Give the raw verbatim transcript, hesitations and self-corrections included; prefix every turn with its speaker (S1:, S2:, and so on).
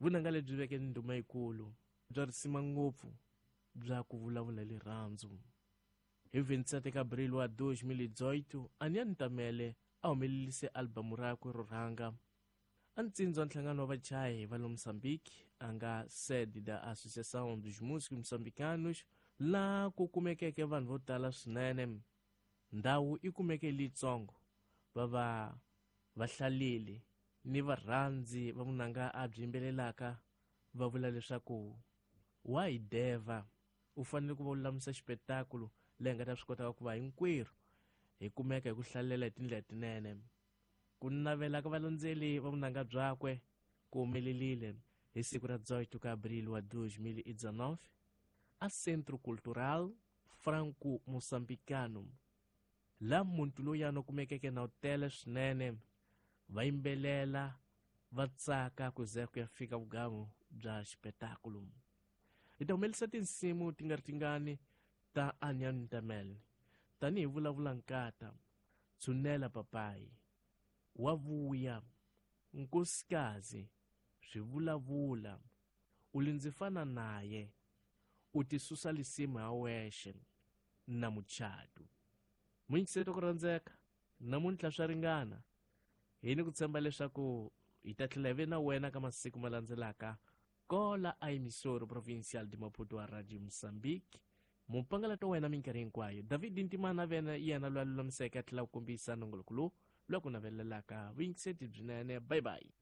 S1: Vunanga lebyi veke ni ndhuma yikulu bya risima ngopfu bya ku vulavula hi rirhandzu. Hi vintisete ka Abril wa dois mil e dezoito, Aniano Ntamele a humelerise albamu rakwe ro rhanga. A ntsindza wa nhlangano wa vachayi va le Mozambique a nga sede da Associação dos Músicos Moçambicanos, laha ku kumekeke vanhu vo tala swinene. Ndhawu yi kumeke leyitsongo, va va vahlaleli ni varhandzi va vunanga a byi yimbelelaka va vula leswaku wa hi deva, u fanele ku va lulamisa xipetakulo leyi nga ta swi kotaka ku va hinkwerhu hi kumeka hi ku hlalela hi tindlela tinene. Ku navela ka valandzeli va vunanga byakwe ku humelerile hi siku ra dezoito ka Abril wa dois mil e dezenove a Centro Cultural Franco Moçambicano, laha muntu loyi a kumekeke na wu tele swinene, va yimbelela va tsaka ku ze ku ya fika vugamu bya xipetakulo. Hi ta humelerisa tinsimu ti nga ri tingani ta Aniano Ntamele tanihi Vulavula Nkata, Tshunela Papayi, Wa Vuya, Nkosikazi, Swivulavula, U Li Ndzi Fana Naye, U Ti Susa Lisimu ha Wexe na Muchato. Muyingiseri ku rhandzeka, namuntlha swa ringana. Hi ni ku tshemba leswaku hi ta tlhela hi ve na wena ka masiku ma landzelaka kola a emissora provincial de Maputo a Radio Mozambique. Mupangalato wa wena minkarhi hinkwayo David Ntimana vena yena loyi a lulamiseke a tlhela ku kombisa nongoloko lowu lowu ku navelelaka vuyingiseti byinene. Bye bye.